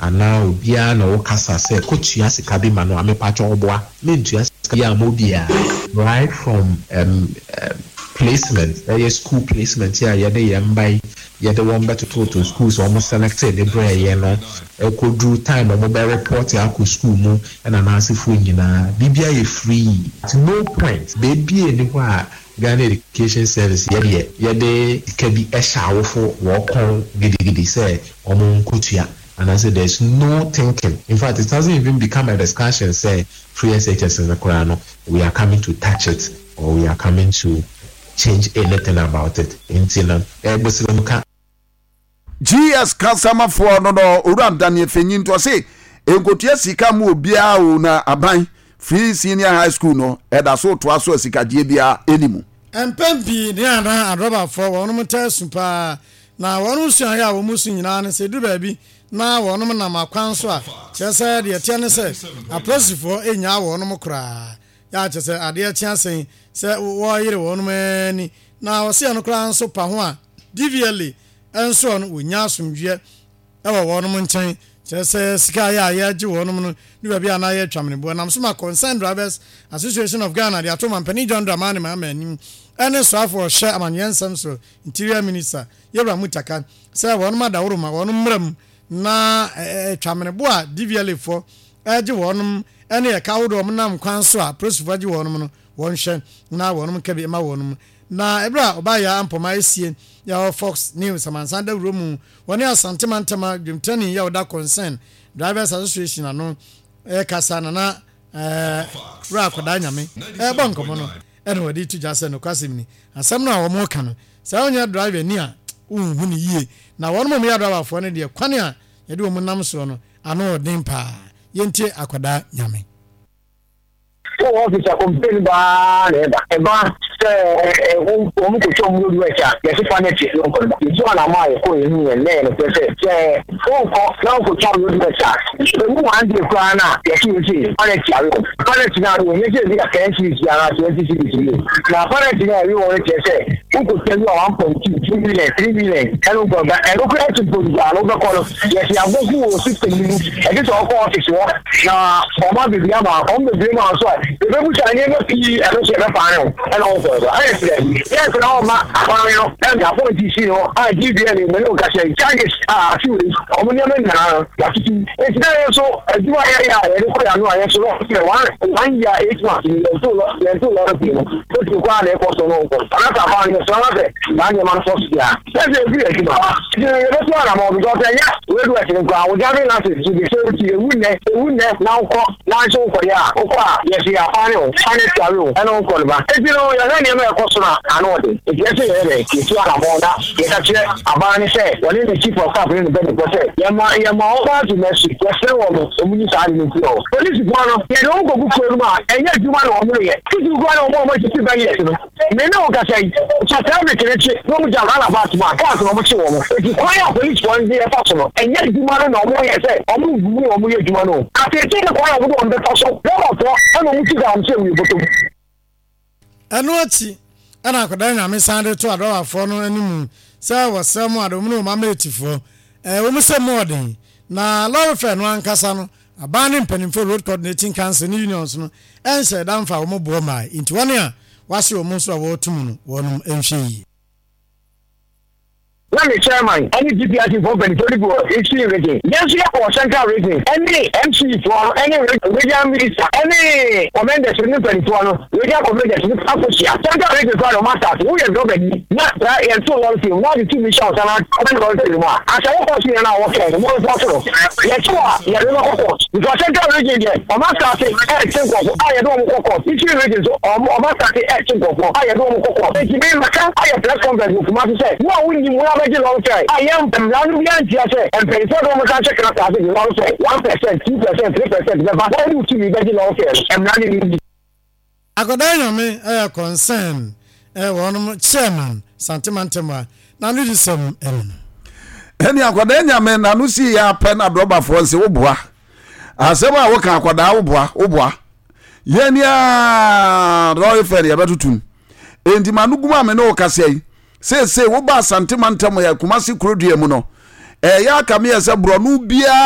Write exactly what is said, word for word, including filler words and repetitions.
Anaa obiara na ɔkasa sɛ kɔtua sika bi ma no a, mepakyɛ, ɔboa mentua sika bi ama obiara. Right from um, um, placement, ɛyɛ school placement a yɛde yɛn mba yi, yɛde wɔn bɛtototo schools a wɔn select de brɛ yɛn no, ɛkɔduru time a wɔn bɛ report akɔ school mu, ɛna n'asefoɔ nyinaa, biribiara yɛ free. At no point beebi eni hɔ a Ghana Education Service yɛdeɛ yɛde sika bi ɛhyɛ awofo wɔkɔn gidigidi sɛ wɔn nkotua anaasɛ there is no thinking. In fact, it hasn't even become a discussion sɛ free S H S no koraa no, we are coming to touch it or we are coming to change anything about it. Nti no ɛbɛsirɛ mu ka. G S kasamafoɔ no no Owura Daniel Fenyi nti ɔse nkotua sika mu obiara o, na aban free senior high school no ɛda so toa so a sikagyeɛ biara ɛni. Mpɛn pii ne ana adrɔbafoɔ wɔnom taa su paa, na wɔnom suaeɛ a wɔn su nyinaa no sɛ duru baabi na wɔnom nam akwan so a, kyerɛ sɛ deɛ teɛ ne sɛ apolisifoɔ ɛnyaa wɔnom koraa yɛ akyerɛ sɛ adeɛ kye asɛn sɛ wɔyere wɔnom ani na wɔseɛ no koraa nso pa ho a, D V L A nso no wɔnya asomdwoeɛ ɛwɔ wɔnom nkyɛn, kyerɛ sɛ sika yɛ a yɛgye wɔnom no ne baabi a na yɛtwa meneboɔ nam so ma Concerned Drivers Association of Ghana de ato mampanin John Dramani Mahama anim ɛne soafoɔ ɔhyɛ amanyɛ nsɛm so, Interior Minister Yɛwura Mutaka, sɛ wɔnom adaworo ma wɔnom mmra mu na twamenebo a D V L A foɔ ɛgye wɔnom ɛne ɛka ahodoɔ wɔn nam kwan so a polisifoɔ agye wɔnom no, wɔnhwɛ na wɔnom nka bi ma wɔnom. Na ɛberɛ a ɔbaayɛ ampɔma esie yɛwɔ Fox News amansan dawuro mu, wɔne Asante Mantama dwamtani yɛ ɔda Concern Drivers Association ano ɛkasa, Nana ɛɛ Wura Akwadaa Nyame, ɛbɔ nkɔmɔ no ɛna wɔde to gya sɛ nokwasɛm ni, asɛm no a wɔn ka no sɛ wɔnyɛ driver ni a wonhu ne yie, na wɔn mo yɛ driverfoɔ no deɛ, kwan a yɛde wɔn nam soɔ no ano ɔden paa. Yɛntie Akwadaa Nyame. Wɔ office a, complain baa na ɛba ɛba sɛ wɔn kɔtwa wɔn road work a yɛsi fa ne ti no nkɔ no yɛtu anamɔ a yɛkɔ yɛn yɛn nɛ yɛn no pɛ sɛ sɛ wɔnkɔ na wɔnkɔtwa road work a, emu one day koraa na yɛsi yɛsi penalty awe wɔn. Penalty na awe wɔn yɛ sɛ ebi a ten cedis bi anaa twenty cedis bi, na penalty na awe wɔn kyerɛ sɛ wokɔtwa bi a one point two two million three million ɛno nkɔ ba. Ɛno koraa ti mpo a no wobɛkɔ no, yɛsi abɔfu wɔ system no mu, ɛde sɛ ɔkɔ office hɔ na ɔma beebi ama ɔmo bebree ma nso a ebebusa nneɛma pii, ɛno nso yɛbɛfa ne ho ɛna ɔnkɔ ɛba ɛyɛ sɛ yɛn sɛ ɔma akwan no ɛna apɔnti si hɔ a D V L A mene nkasa yi charges a afi wei ɔmo nneɛma nyinaa no yɛatutu. Nti na yɛn nso adwuma yɛ yɛ a yɛde kɔ yɛ ano a, yɛn nso no sɛ one one year eight months yɛn to lɔ yɛn to lɔre pii no otu kɔ a na ɛkɔ so no nkɔ anasa aban no yɛsrɛ na sɛ saa nneɛma no sɔ so deɛ a sɛ efiri adwuma nti yɛbɛto anamɔ, because ɛnyɛ road work no koraa, wo driving license so de sɛ oti ewu nnɛ ewu nnɛ na wokɔ na nso wokɔyɛ a, wokɔ a yɛsi afa ne ho fa ne tuare o ɛna wokɔ no ba. Eti no yɛhwɛ nneɛma a ɛkɔ so na ano ɔde, eti ɛsɛ yɛyɛ dɛ yɛtu anamɔ na yɛka kyerɛ aban ne sɛ wɔne ne chief of staff ne ne mpanyinfoɔ sɛ yɛma yɛma wɔn ba to mercy. Yɛsrɛ wɔn no wɔn nyi saa ade no nti hɔ. Polisifoɔ no, yɛde wɔn kɔgu kuro no mu a, ɛnyɛ adwuma na wɔn reyɛ titiri koraa na wɔn a wɔn asisi bɛyɛ no. Me ne wo kasa yi, sɛ traffic ne kye na wɔn gya roundabout mu a, cars na wɔn kye wɔn. Eti kwan a polisifoɔ no de yɛfa so no, ɛnyɛ adwuma no na wɔn yɛ sɛ wɔn ngu mu wɔn yɛ adwuma no atete ne kwan a wɔde wɔn bɛfa so rɔbafoɔ ɛna wɔn ti galamsey wɔ bɔtɔ mu. Ɛno akyi ɛna Akwadaa Nyame san de to adɔwafoɔ no anim sɛ wɔsrɛ mu ade wɔn ne wɔn ameetifoɔ ɛɛ wɔn sɛ mu ɔden na lɔre fare no ankasa no, aban ne mpanimfoɔ, Road Coordinating Council ne unions no ɛnhyɛ ɛda mfa wɔn boɔ maa, nti wɔn a wɔahyɛ wɔn nso a wɔretum no, wɔnom nhwɛ yie. Na ne chairman ɛne G P R C foɔ mpanyinfoɔ no bi wɔ Eastern Region, yɛn nso yɛkɔ Central Region ɛne M C foɔ no ɛne regional minister ɛne commanders ne mpanyinfoɔ no, regional commanders no akɔhyia Central Region koraa na ɔmo asase. Woyɛ dɔbani na saa yɛn to lɔre fare mu na ɔde tumi hyɛ ɔsan ɔbɛn lɔre fare mu a asɛ wokɔ so yɛn a wɔkɛn no mo report no, yɛkye wɔ a yɛde bɛkɔ court, because Central Region deɛ, ɔmo asase ɛɛkye nkɔfo a yɛde wɔn kɔ court. Eastern Region so ɔmo ɔmo asase ɛɛkye nkɔfo a yɛde wɔn kɔ court. Eti mi maka ayɛ press conference wɔ Kumasi sɛ wo a wonnim wo abɛgye lɔre fare a, yɛn mmara no bi antia sɛ mpanyinfoɔ de wɔn nsa ahyɛ krataa ase de lɔre fare one percent, two percent, three percent bɛba na wɔde tumi bɛgye lɔre fare no, mmara no ni. Akwadaa Nyame ɛyɛ concern ɛyɛ wɔnom chairman Santemantam a n'ano di sɛm ɛno no. Ɛne Akwadaa Nyame n'ano si yɛ apɛ na adrɔbafoɔ nse woboa asɛm a woka. Akwadaa, woboa woboa yɛn a lɔre fare yɛbɛtotom, enti ma no gum a me ne wo kasa yi seesei woba Asante Mantam yɛ Kumase kurodua mu no, ɛyɛ aka meyɛ sɛ borɔno biara.